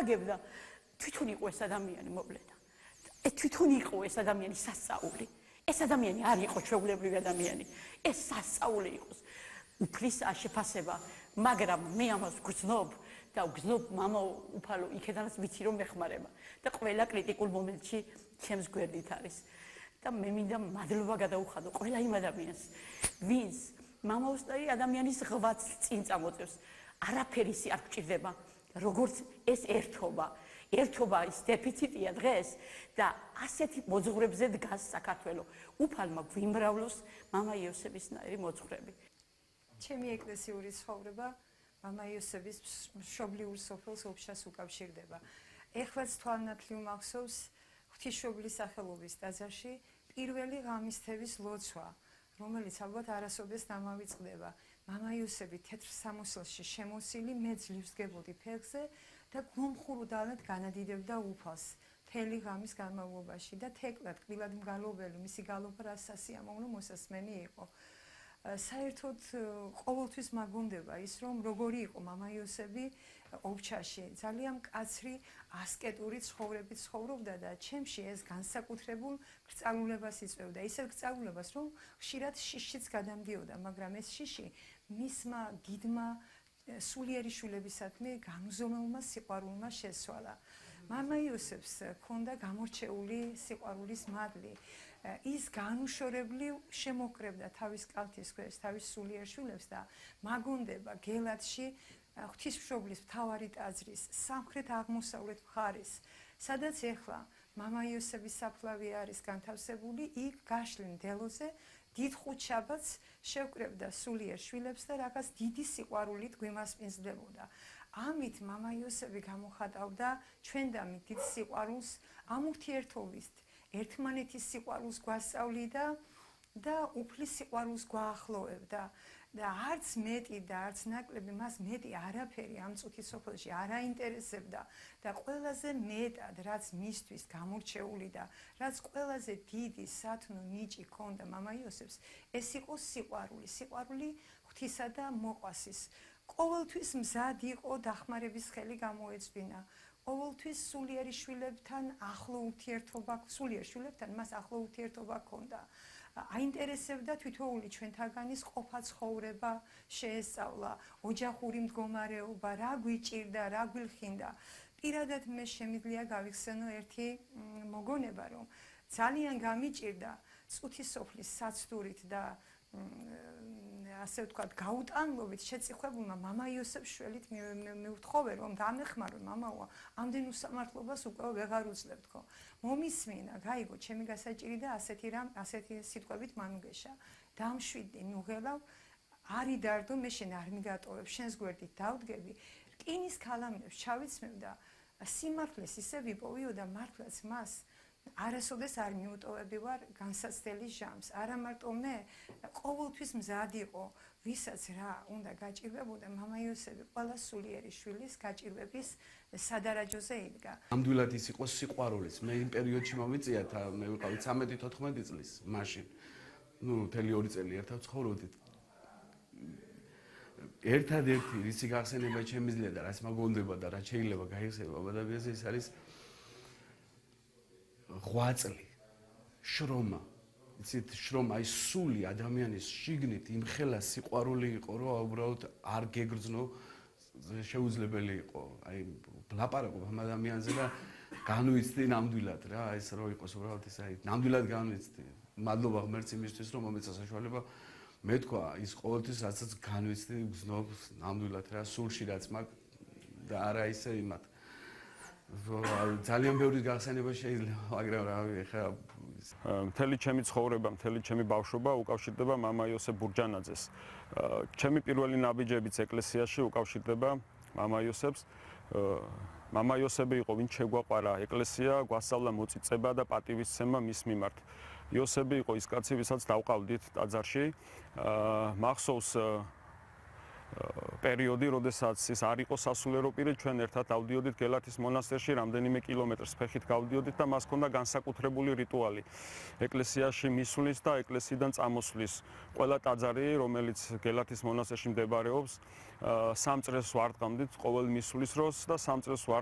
გაგებდა თვითონ იყო ეს ადამიანი მოვლენა. თვითონ იყო ეს ადამიანი სასწაული. ეს ადამიანი არ იყო ჩვეულებრივი ადამიანი. ეს სასწაული იყოს. უფლის შეფასება, მაგრამ მე ამას გრძნობ და გრძნობ მამა უფალო იქედანაც ვიცი რომ მეხმარება და ყველა კრიტიკულ მომენტში ჩემს გვერდით არის. და მე მინდა მადლობა გადაუხადო ყველა იმ ადამიანს, ვინც მამაოსტარი ადამიანის ღვაწ წინ წამოწევს. არაფერი არ გჭირდება, როგორც ეს ერთობა. ერთობა ის დეფიციტია დღეს და ასეთი მოძღვრებზე დგას საქართველო. უფალმა გვიმრავლოს მამა იოსებისნაირი მოძღვრები. ჩემი ეკლესიური ცხოვრება მამა იოსების მშობლიურ სოფელს ოფშას უკავშირდება. ეხლაც თვალნათლივ მახსოვს ღვთისმშობლის სახელობის ტაძარში პირველი ღამისთების ლოცვა, რომელიც ალბათ არასოდეს დამავიწყდება. მამა იოსები თეთრ სამოსელში შემოსილი, მე ძლივს გებოდი ფეხზე და გულმხურუდალად განადიდებდა უფალს მთელი ღამის განმავლობაში და თეკლად კბილად მგალობელი მისი გალობა რა სასიამოვნო მოსასმენი იყო. საერთოდ ყოველთვის მაგონდება ის რომ როგორი იყო მამა იოსები ოფჩაში ძალიან მკაცრი ასკეტური ცხოვრებით ცხოვრობდა და ჩემში ეს განსაკუთრებულ გრძალულებას იწვევდა ისეთ გრძალულებას რომ ხშირად შიშიც გადამდიოდა მაგრამ ეს შიში მისმა გიდმა სულიერი შვილებისადმი განუზომელმა სიყვარულმა შესცვალა. მამა იოსებს ჰქონდა გამორჩეული სიყვარულის მადლი. ის განუშორებლივ შემოკრებდა თავის კალთის ქვეშ თავის სულიერ შვილებს და მაგონდება გელათში ღვთისმშობლის მთავარი ტაძრის სამხრეთ აღმოსავლეთ მხარის, სადაც ეხლა მამა იოსების საფლავი არის განთავსებული, იქ გაშლილ მდელოზე დიდ ხუთშაბათს შევკრებდა სულიერ შვილებს და რაღაც დიდი სიყვარულით გვიმასპინძლებოდა. ამით მამა იოსები გამოხატავდა ჩვენდამით დიდ სიყვარულს ამ ურთიერთობის ერთმანეთის სიყვარულს გვასწავლიდა და უფლის სიყვარულს გვაახლოვებდა და არც მეტი და არც ნაკლები მას მეტი არაფერი ამ წუთის სოფელში არ აინტერესებდა და ყველაზე მეტად რაც მისთვის გამორჩეული და რაც ყველაზე დიდი სათნო ნიჭი ჰქონდა მამა იოსებს ეს იყო სიყვარული ღვთისა და მოყვასის ყოველთვის მზად იყო დახმარების ხელი გამოეწვინა ყოველთვის სულიერი შვილებთან ახლო ურთიერთობა სულიერ შვილებთან მას ახლო ურთიერთობა ჰქონდა აინტერესებდა თითოეული ჩვენთაგანის ყოფა ცხოვრება შეესწავლა ოჯახური მდგომარეობა რა გვიჭირდა რა გვილხინდა პირადად მე შემიძლია გავიხსენო ერთი მოგონება რომ ძალიან გამიჭირდა წუთის სოფლის საცდურით და ასე ვთქვათ გაუტანლობით შეწიხვებულმა მამა იოსებს შველით მივთხოვე რომ დამეხმარო მამაო ამდენ უსამართლობას უკვე ვეღარ უძლებ თქო მომისმინა გაიგო ჩემი გასაჭირი და ასეთი სიტყვებით მანუგეშა დამშვიდი ნუღელავ არი დარდო მე შენ არ მიგატოვებ შენს გვერდით დავდგები რკინის ქალამნებს ჩავიცმევ და სიმართლეს ისე ვიპოვიო და მართლაც მას არასოდეს არ მიუტოვები ვარ განსაცდელი ჟამს არა მარტო მე ყოველთვის მზად იყო ვისაც რა უნდა გაჭირვებოდა მამა იოსები ყველა სულიერი შვილის გაჭირვების სადარაჯოზე იდგა ნამდვილად ის იყო სიყვარულიც მე იმ პერიოდში მომიწია მე ვიყავი 13-14 წლის მაშინ მთელი 2 წელი ერთად ცხოვრობდით ერთადერთი რისი გახსენება შემიძლია და რაც მაგონდება და რაც შეიძლება გაიხსნება ადამიანზე ის არის ღვაწლი, შრომა, იცით, შრომა ის სული ადამიანის შიგნით იმხელა სიყვარული იყო, რომ უბრალოდ არ გეგრძნო შეუძლებელი იყო. აი, ლაპარაკობ ამ ადამიანზე და განვიცდი ნამდვილად რა, ეს რო იყოს უბრალოდ ეს აი, ნამდვილად განვიცდი. მადლობა ღმერთს იმისთვის, რომ მომეცა საშუალება მე თქვა, ის ყოველთვის რასაც განვიცდი, გზნობ ნამდვილად რა, სულში რაც მაქვს და არა ისე იმათ. ძალიან ბევრი გახსენება შეიძლება, მაგრამ რავი, ეხლა მთელი ჩემი ცხოვრება, მთელი ჩემი ბავშვობა უკავშირდება მამა იოსებ ბურჯანაძეს. ჩემი პირველი ნაბიჯებიც ეკლესიაში უკავშირდება მამა იოსებს. მამა იოსები იყო, ვინც შეგვაყვარა ეკლესია, გვასწავლა მოწიწება და პატივისცემა მის მიმართ. იოსები იყო ის კაცი, ვისაც დავყავდით ტაძარში. მახსოვს პერიოდი, როდესაც ის არ იყო სასულიერო პირი, ჩვენ ერთად დავდიოდით გელათის მონასტერში, რამდენიმე კილომეტრს ფეხით გავდიოდით და მას ჰქონდა განსაკუთრებული რიტუალი. ეკლესიაში მისვლის და ეკლესიიდან წამოსვლის. ყველა ტაძარი, რომელიც გელათის მონასტერში მდებარეობს, 3 წრეს ვარდყამდით ყოველ მისვლის დროს და 3 წრეს ვარდ